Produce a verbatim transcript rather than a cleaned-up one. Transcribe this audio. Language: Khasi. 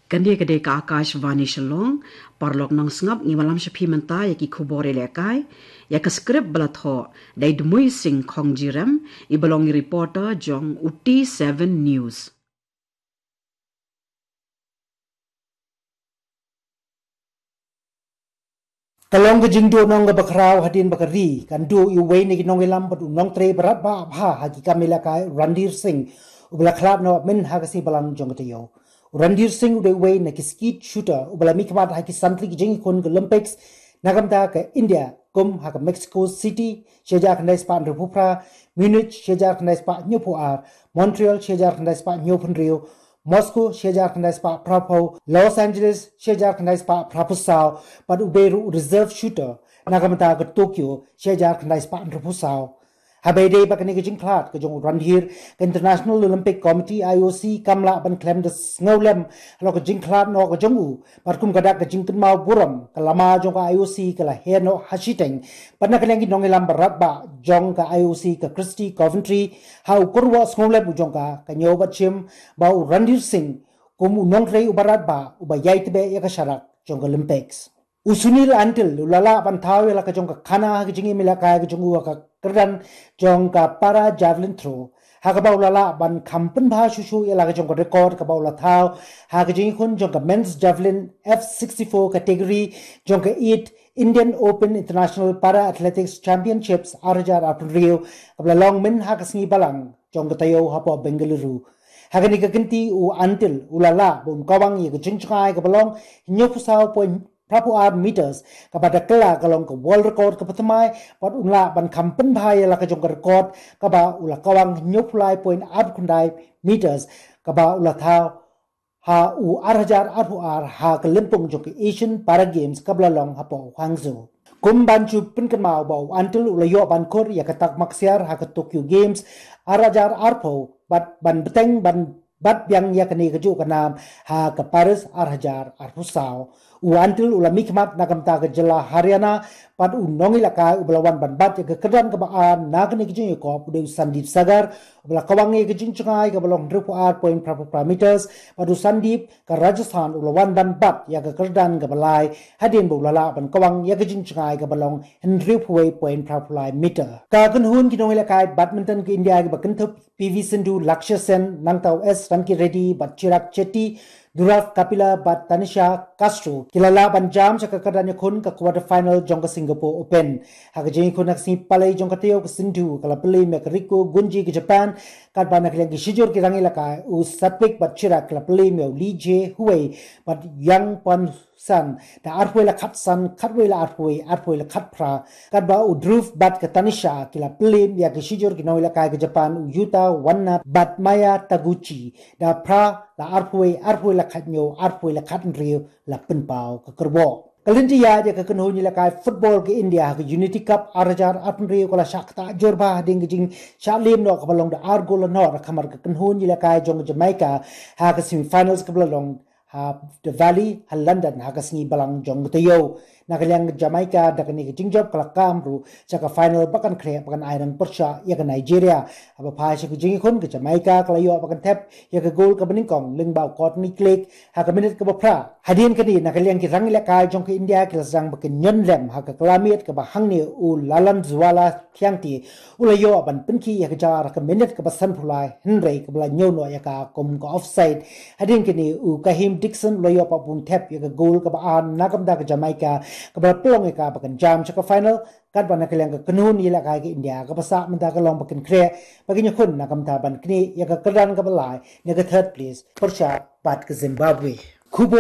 Kane ka dei ka Akashvani Shillong. Paralok nongsngap, ngi wallam sha phi mynta ïa ki khubor ïalehkai, ïa ka script ba la thoh da i Dmui Singh Khongjirem, i ba long i reporter jong u T seven News. Ka long ka jingduh nong kaba khraw hadien ba ka ri kan duh ïa uwei na ki nongïalam bad u nongtrei ba radbah bha ha ki kam ïalehkai, Randhir Singh, u ba la khlad noh mynta ha ka sngi Balang jong ka taïew. U Randhir Singh u dei uwei na ki skeet shooter u ba la mihkhmat ha ki san tylli ki jingïakhun ka Olympics na ka bynta ka India, kum ha ka Mexico City shi hajar khyndai spah hynriewphew phra, Munich shi hajar khyndai spah hynñiewphew ar, Montreal shi hajar khyndai spah hynñiewphew hynriew, Moscow shi hajar khyndai spah phraphew, Los Angeles shi hajar khyndai spah phraphew saw, bad u dei ruh u reserve shooter na ka bynta ka Tokyo shi hajar khyndai spah hynriewphew saw. Haba ïadei bad kane ka jingkhlad ka jong u Randhir, ka International Olympic Committee, I O C, kam lah ban khlem da sngewlem halor ka jingkhlad noh ka jong u. Bad kum ka dak ka jingkynmaw burom, ka lama jong ka I O C ka la heh noh ha shiteng. Bad na ka liang ki nongïalam ba radbah jong ka I O C, ka Christy Coventry, ha u kyrwoh sngewlem u jong ka, ka ñiew bad shim ba u Randhir Singh kum u nongtrei u ba radbah u ba ïai tbeh ïa ka sharak jong ka Olympics. U Sunil Antil u la lah ban thaw ïa la ka jong ka khana ha ka jingim ïalehkai ka jong u ha ka kyrdan jong ka para javelin throw, ha kaba u la lah ban kham pynbha shuh shuh ïa la ka jong ka record kaba u la thaw ha ka jingïakhun jong ka men's javelin F sixty-four category jong ka eight Indian Open International Para Athletics Championships ar hajar arphew hynriew, kaba la long mynta ha ka sngi Balang jong ka taïew hapoh Bengaluru. Ha kane ka kynti u Antil u la lah ban kawang ïa ka jingjngai kaba long hynñiewphew saw point phraphew ar meters, kaba da kylla ka long ka world record kaba thymmai, bad u lah ban kham pynbha ïa la ka jong ka record kaba u la kawang hynñiewphew lai point arphew khyndai meters, kaba u la thaw ha u ar hajar arphew ar ha ka lympung jong ka Asian Para Games kaba la long hapoh Hangzhou. Kum ban shu pynkynmaw ba u Antil u la ïoh ban khur ïa ka tak maksiar ha ka Tokyo Games ar hajar arphew, bad ban bteng ban bat biang ïa kane kajuh ka nam ha ka Paris ar hajar arphew saw. U Antil u la mihkhmat na ka bynta ka jylla Haryana, bad u nongïalehkai u ba la wan ban bat ïa ka kyrdan kaba ar na kane ka jingïakop u dei u Sandeep Sagar, u ba la kawang ïa ka jingjngai kaba long hynriewphew ar point phraphew phra meters, bad u Sandeep ka Rajasthan u la wan ban bat ïa ka kyrdan kaba lai, hadien ba u la lah ban kawang ïa ka jingjngai kaba long hynriewphew wei point phraphew lai meter. Ka kynhun ki nongïalehkai badminton ka India kiba kynthup P V Sindhu, Lakshya Sen, Nangtau S Ranki Reddy, bad Chirag Shetty, Dhruv Kapila, bad Tanisha Castro, ki la lah ban jam sha ka kyrdan ïakhun ka quarter final jong ka Singapore Open. Ha ka jingïakhun ha ka sngi Palei jong ka taïew, ka Sindhu ka la pynliem ïa ka Riko Gunji ka Japan, katba na ka liang ki shijur ki rangïalehkai, u Satwik bad Chirag, ki la pynliem ïa u Li Jie Huei bad Yang Pon San da arphew wei la khatsan, khatwei la arphew wei, arphew wei la khatphra, katba u Dhruv bad ka Tanisha ki la pynliem ïa ki shijur ki nongïalehkai ka Japan, u Yuta Wanna bad Maya Taguchi, da phra la arphew wei, arphew wei la khathynñiew, arphew wei la khathynriew, la pynpaw ka kyrwoh. Ka lynti ïaid ïa ka kynhun ïalehkai football ka India ha ka Unity Cup ar hajar arphew hynriew ka la shah ktah jur bha hadien ka jingshah liem noh kaba long da ar gol la noh, da khamar ka kynhun ïalehkai jong ka Jamaica ha ka semi finals kaba la long ha The Valley ha London ha ka sngi Balang jong ka taïew. Na ka liang ka Jamaica da kane ka jingjop ka la kam ruh sha ka final ba kan khreh ba kan ai nang pyrshah ïa ka Nigeria. Haba phai sha ka jingïakhun, ka Jamaica ka la ïoh ba kan thep ïa ka gol kaba nyngkong lyngba u Courtney Clegg ha ka minit kaba phra. Hadien kane, na ka liang ki rangïalehkai jong ka India ki la sdang ba kin ñion lem ha ka kylla miet kaba hangne u Lallianzuala Khiangte u la ïoh ban pynkhih ïa ka jar ha ka minit kaba sanphew lai, hynrei kaba la ñiew noh ïa ka kum ka offside. Hadien kane u Kaheem Dixon u la ïoh pat ban thep ïa ka gol kaba ar na ka bynta ka Jamaica, kaba la pynlong ïa ka ba kan jam sha ka final, katba na ka liang ka kynhun ïalehkai ka India kaba sah mynta ka long ba kin khreh ba kin ïakhun na ka bynta ban knieh ïa ka kyrdan kaba lai na ka third place pyrshah bad ka Zimbabwe. Khubor